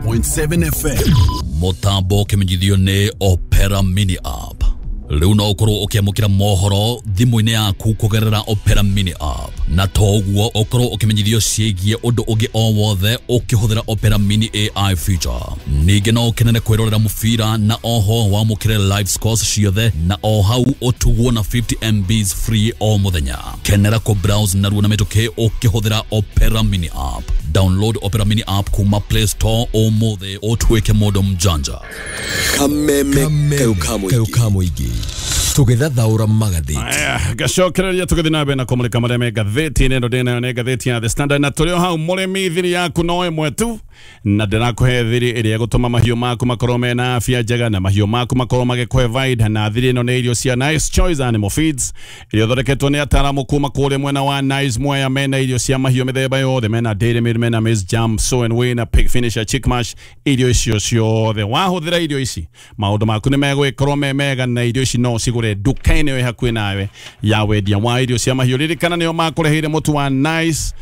101.7 FM. Mutambo ũkĩmenyithio nĩ Opera Mini App. Rĩu no ũkorwo ũkĩamũkĩra mohoro thimũ-inĩ yaku kũgerera Opera Mini App, na to ũguo ũkorwo ũkĩmenyithio ciĩgiĩ ũndũ ũngĩ o wothe ũkĩhũthĩra Opera Mini AI feature. Ningĩ no ũkenere kwĩrorera mũbira na oho wamũkĩre live scores ciothe na o hau ũtugwo na 50 MBs free o mũthenya. Kenera kũ browse narua na mĩtũkĩ ũkĩhũthĩra Opera Mini App. Download Opera Mini App kuma Play Store ũmũthĩ ũtuĩke mũndũ mjanja. Kameme kayo ka mũingĩ tũgĩthathaũra magathĩti. Aya, ngacokereria tũgĩthiĩ na mbere na kũmũrĩka marĩa me ngathĩti-inĩ. Ĩno ndĩnayo nĩ ngathĩti ya The Standard, na tũrĩ o hau mũrĩmi, thiri yaku no ĩmwe tu, na ndĩrakũhe thiri ĩrĩa ĩgũtũma mahiũ maku makorwo mena afya njega na mahiũ maku makorwo magĩkũhe vaida. Na thiri ĩno nĩ irio cia Nice Choice Animal Feeds iria ithondeketwo nĩ ataaramu kuma kũrĩa mwena wa Nice Mwea. Mena irio cia mahiũ mĩthemba yothe, mena Dairy Meal, mena Maize Jam, Sow and Win na Pig Finisher, Chick Mash. Irio icio ciothe wahũthĩra irio ici, maũndũ maku nĩ megũgĩkorwo me mega, na irio ici no ũcigũre nduka-inĩ wĩ hakuhĩ nawe ya wendia wa irio cia mahiũ. Ririkana nĩo makũreheire mũtu wa Nice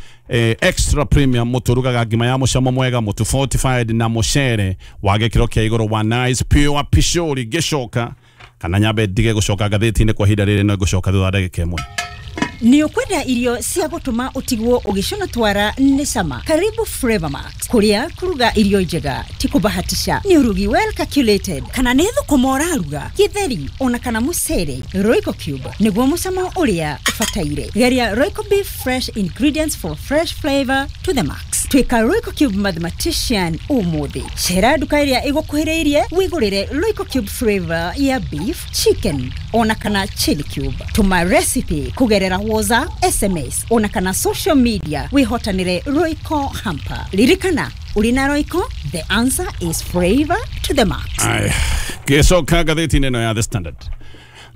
Extra Premium, mũtu ũrugaga ngima ya mũcamo mwega, mũtu fortified na mũcere wa gĩkĩro kĩa igũrũ wa Nice Pure Pishori. Ngĩcoka kana nyambe ndige gũcoka ngathĩti-inĩ kwa ihinda rĩrĩ, no ngũcoka thutha wa ndagĩka ĩmwe. Nĩ ũkwenda irio cia gũtũma ũtigwo ũgĩcũna twara nĩ cama? Karibu Flavor Max, kũrĩa kũruga irio njega ti kũbahatisha, nĩ ũrugi well calculated. Kana nĩ thũkũma ũraruga, gĩtheri ona kana mũcere, Royco Cube nĩguo mũcamo ũrĩa ũbataire. Geria Royco Beef, fresh ingredients for fresh flavor to the max. Tuĩka Royco Cube mathematician ũmũthĩ. Cera nduka ĩrĩa ĩgũkuhĩrĩirie wĩgũrĩre Royco Cube flavor ya beef, chicken ona kana chili cube. Tũma recipe kũgerera WhatsApp, SMS ona kana social media wĩhotanĩre Royco hamper. Ririkana, ũrĩ na Royco, the answer is flavor to the max. Aya, ngĩcoka ngathĩti-inĩ ĩno ya The Standard,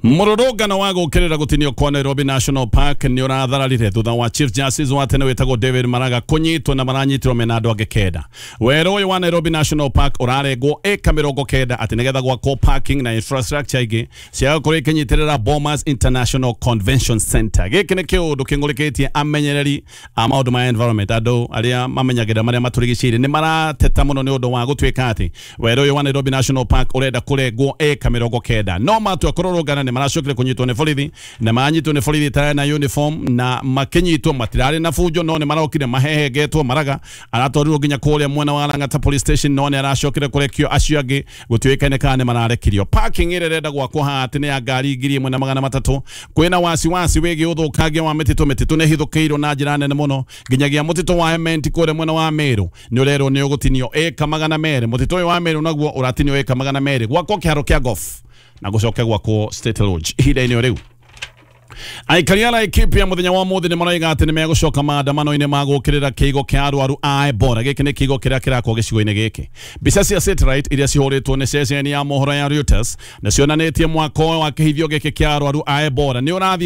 mũrũrũngano wa gũkĩrĩra gũtinio kwa Nairobi National Park nĩ ũrathararire thutha wa Chief Justice wa tene wĩtagwo David Maraga kũnyitwo, na maranyitirwo mena andũ angĩ 9. Werũ ũyũ wa Nairobi National Park ũrarengwo ĩka 90 atĩ nĩgetha gwakwo parking na infrastructure ingĩ cia gũkorwo ikĩnyitĩrĩra Bomas International Convention Center. Gĩkĩ nĩ kĩũndũ kĩng'ũrĩkĩtie amenyereri a maũndũ ma environment. Andũ arĩa mamenyagĩrĩra marĩa matũrigicĩirie nĩ marateta mũno nĩ ũndũ wa gũtuĩka atĩ werũ ũyũ wa Nairobi National Park ũrenda kũrengwo ĩka 90, no matua kũrũrũngana nĩ maracokire kũnyitwo nĩ borithi, na maranyitwo nĩ borithi itarĩ na uniform, na makĩnyitwo matirarĩ na bunjo, no nĩ marokire mahehengetwo. Maraga aratwarirwo nginya kũrĩa mwena wa Lang'ata Police Station, no nĩ aracokire kũrekio. Acio angĩ gũtiũĩkaine kana nĩ mararekirio. Parking ĩrĩa ĩrenda gwakwo haha atĩ nĩ ya ngari 1300. Kwĩna wasiwasi wĩgiĩ ũthũkangia wa mĩtitũ. Mĩtitũ nĩ ĩhithũkĩirwo na njĩra nene mũno, nginyagia mũtitũ wa Ementi kũrĩa mwena wa Meru nĩ ũrerwo nĩ ũgũtinio ĩka 200. Mũtitũ ũyũ wa Meru naguo ũratinio ĩka 200 gwakwo kĩharo kĩa golf na gũcoke gwakwo State Lodge. Ihinda-inĩ o rĩu, aikari a Laikipia mũthenya wa mũthĩ nĩ maroiga atĩ nĩ megũcoka maandamano-inĩ ma gũkĩrĩra kĩigo kĩa arwaru a Ebola. Gĩkĩ nĩ kĩigo kĩrĩa kĩrakwo gĩcigo-inĩ gĩkĩ. Mbica cia satellite iria cihũrĩtwo nĩ ceceni ya mohoro ya Reuters nĩ cionanĩtie mwako wa kĩhithio gĩkĩ kĩa arwaru a Ebola nĩ ũrathiĩ.